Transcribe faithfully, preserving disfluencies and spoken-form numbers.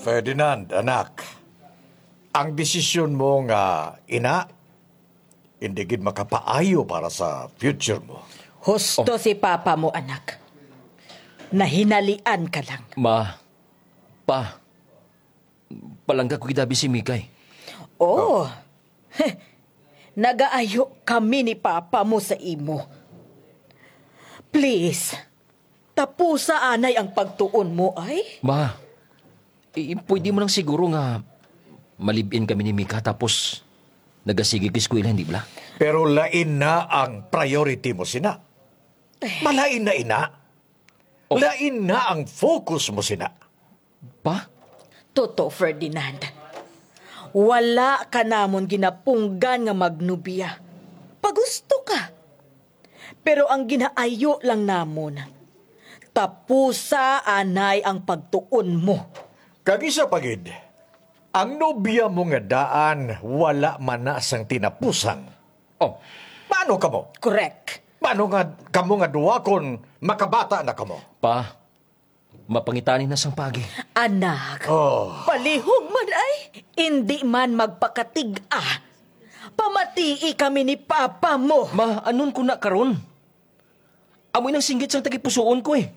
Ferdinand, anak, ang desisyon mo nga ina, hindi gid makapaayo para sa future mo. Husto Oh. si Papa mo, anak. Nahinalian ka lang. Ma, Pa, palangga ko gid abi si Mikay. Oh, nagaayo kami ni Papa mo sa imo. Please, tapusa anay ang pagtuon mo, ay? Ma, i-, pwede mo lang siguro nga malibin kami ni Mika tapos nagasigi ka eskwela, hindi bala? Pero lain na ang priority mo sina. Malain na ina. Oh. Lain na ang focus mo sina. Pa? Toto, Ferdinand. Wala ka namon ginapunggan nga magnobya. Pagusto ka. Pero ang ginaayo lang namon, tapusa anay ang pagtuon mo. Kag isa pa gid, ang nobya mo nga daan wala man na sang tinapusan. Oh, paano kamo? Correct. Paano nga kamo nga duha kon makabata na kamo? Pa, mapangitani na sang pagi. Anak, Oh. palihog man ay. Indi man magpakatig-a. Pamatii kami ni Papa mo. Ma, anon ko na karon? Amoy nang singgit sang tagipusoon ko eh.